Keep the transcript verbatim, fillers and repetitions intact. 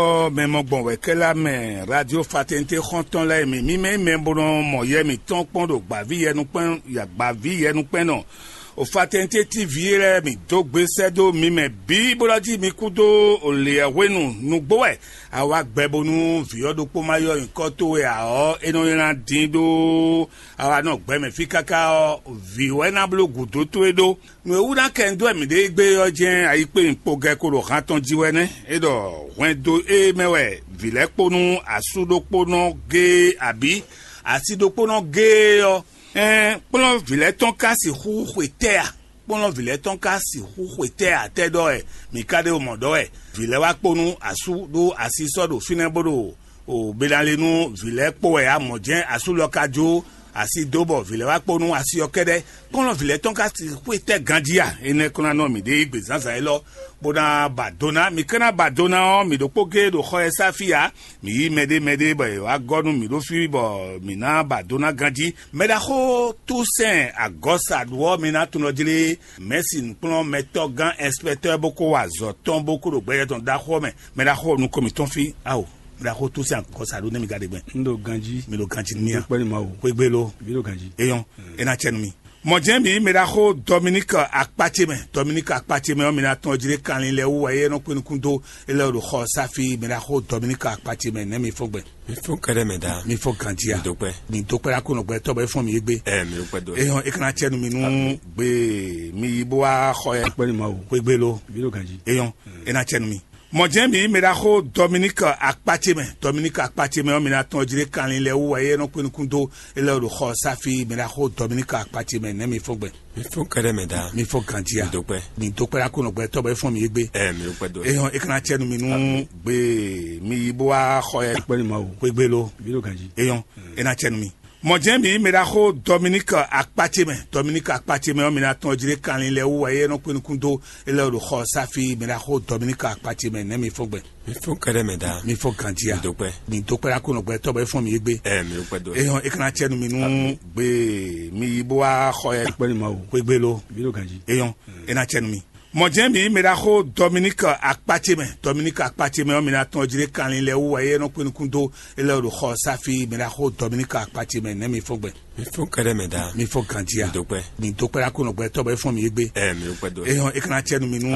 Ɔ mɛ mɔ gbɔn wɛ kɛlá mɛ radio fatɛnte xɔntɔn lɛ mi mi mɛ mɛ bó nɔ mɔ yɛ mi tɔn kpɔn ɖo gbavi yɛnukpɛn gbavi yɛnukpɛn nɔ. O fatɛnte tv lɛ mi dó gbe sɛ dó mi mɛ bí bó lɔ jí mi kú dó o lè hwenu nugbo wɛ. Awa gbɛ bónú vǐ ɔ́ ɖokpó ma yɔ nyǐkɔ towe ǎ ɔ́, é nɔ nylá dín ɖó awa nɔ gbɛ mɛ fí káká ɔ́, vǐ wɛ ná bló gǔdo towe ɖó. Nǔ e wú ná kɛ un dó wɛ mǐ ɖe gbé ɔ́ jɛ́n ayikpéyǐnkpogɛ ko ɖo han tɔn jí wɛ nɛ́. É ɖɔ hwɛndo e mɛ wɛ vǐ lɛ́ɛ kpo nú asú ɖokpónɔ géé abǐ asi ɖokpónɔ géé ɔ́, ɛn kplɔ́n vǐ lɛ́ɛ tɔn ka sixú xwe tɛ́ a? Kplɔ́n vǐ lɛ́ɛ tɔn ka sixú xwe tɛ́ a? Tɛ́ ɖɔ wɛ mǐ ka ɖe mɔ ɖɔ wɛ vǐ lɛ́ɛ wá kpo nú asú ɖó asi sɔ́ ɖo fínɛ́ bó ɖo o be ná le nú vǐ lɛ́ɛ kpo wɛ a mɔ̌ jɛ́n asú lɔ ka jó asi dó bɔ vǐ lɛ́ɛ wá kpo nú asi ɔ́ kɛ́ɖɛ́. Kplɔ́n vǐ lɛ́ɛ tɔn ka sixú xwe tɛ́ ganjí a? Énɛ́ kó ná nɔ mǐ ɖe gbe zǎnzǎn élɔ́ bó ná ba do ná. Mǐ ka ná ba do ná ɔ́, mǐ ɖokpó géé ɖo xɔ ɛ sá fí ǎ. Mǐ yí mɛɖé mɛɖé bɔ è wá gɔ́ nú mǐ ɖó fí bɔ mǐ ná ba do ná ganjí. Mɛɖaxó Toussaint Agɔ́sa ɖu ɔ́, mi ná tunɔ jlé mɛ̌si nǔkplɔ́nmɛtɔ́gán ɛnspɛtɔ́ bó kó wa azɔ̌ tɔn bó kó ɖo gbɛjɛ tɔn ɖaxó ɔ́ mɛ. Mɛɖaxó nukɔn mǐtɔn fí ao. Mɛɖaxó Toussaint Agɔ́sa ɖo nɛ́ mi ka ɖe gbɛn. Un ɖo ganjí. Mi ɖo ganjí ní a? Kpɛ́ ní Mawu. Xwégbé lo. Mi ɖo ganjí. Eyɔn, é ná cɛ nú mi. Mɔ̌ jɛ́n mǐ mɛ ɖaxó Dominique Akpacemɛ. Dominique Akpacemɛ ɔ́, mi ná tɔn jlé kanlin lɛ́ɛ wú wɛ é nɔ kpé nukún dó é lɛ́ ɖo xɔ sáfi mɛ ɖaxó Dominique Akpacemɛ nɛ́ mi fɔ́n gbɛ. Mi fɔ́n kɛɖɛ mɛ da. Mi fɔ́n ganjí a? Mi dó kpɛ́. Mi dó kpɛ́ ɖá kó nɔ gbɛ tɔ́ bɔ é fɔ́n mi égbé. Ɛ mi ɖo kpɛ́ dó. Eyɔn é kana cɛ nú mi nú gbé mi yi bó wá xɔ yɛ. Kpɛ́ ní Mawu. Xwégbé lo. Mi ɖo ganjí. Eyɔn é ná cɛ nú mi. Mɔ̌ jɛ́n mǐ mɛ ɖaxó Dominique Akpacemɛ. Dominique Akpacemɛ ɔ́, mi ná tɔn jlé kanlin lɛ́ɛ wú wɛ é nɔ kpé nukún dó é lɛ́ ɖo xɔ sáfi mɛ ɖaxó Dominique Akpacemɛ nɛ́ mi fɔ́n gbɛ. Mi fɔ́n kɛɖɛ mɛ da. Mi fɔ́n ganjí a? Mi dó kpɛ́. Mi dó kpɛ́ ɖá kó nɔ gbɛ tɔ́ bɔ é fɔ́n mi égbé. Ɛ mi ɖo kpɛ́ dó. Eyɔn é kana cɛ nú mi nú gbé mi yi bó wá xɔ yɛ. Kpɛ́ ní Mawu. Xwégbé lo. Mi ɖo ganjí. Eyɔn é ná cɛ nú mi. Mɔ̌ jɛ́n mǐ mɛ ɖaxó Dominique Akpacemɛ. Dominique Akpacemɛ ɔ́, mi ná tɔn jlé kanlin lɛ́ɛ wú wɛ é nɔ kpé nukún dó é lɛ́ ɖo xɔ sáfi mɛ ɖaxó Dominique Akpacemɛ nɛ́ mi fɔ́n gbɛ. Mi fɔ́n kɛɖɛ mɛ da. Mi fɔ́n ganjí a? Mi dó kpɛ́. Mi dó kpɛ́ ɖá kó nɔ gbɛ tɔ́ bɔ é fɔ́n mi égbé. Ɛ mi ɖo kpɛ́ dó. Eyɔn é kana cɛ nú mi nú gbé mi yi bó wá xɔ yɛ. Kpɛ́ ní Mawu. Xwégbé lo. Mi ɖo ganjí. Eyɔn é ná cɛ nú mi. Mɔ̌ jɛ́n mǐ mɛ ɖaxó Dominique Akpacemɛ. Dominique Akpacemɛ ɔ́, mi ná tɔn jlé kanlin lɛ́ɛ wú wɛ é nɔ kpé nukún dó é lɛ́ ɖo xɔ sáfi mɛ ɖaxó Dominique Akpacemɛ nɛ́ mi fɔ́n gbɛ. Mi fɔ́n kɛɖɛ mɛ da. Mi fɔ́n ganjí a? Mi dó kpɛ́. Mi dó kpɛ́ ɖá kó nɔ gbɛ tɔ́ bɔ é fɔ́n mi égbé. Ɛ mi ɖo kpɛ́ dó. Eyɔn é kana cɛ nú mi nú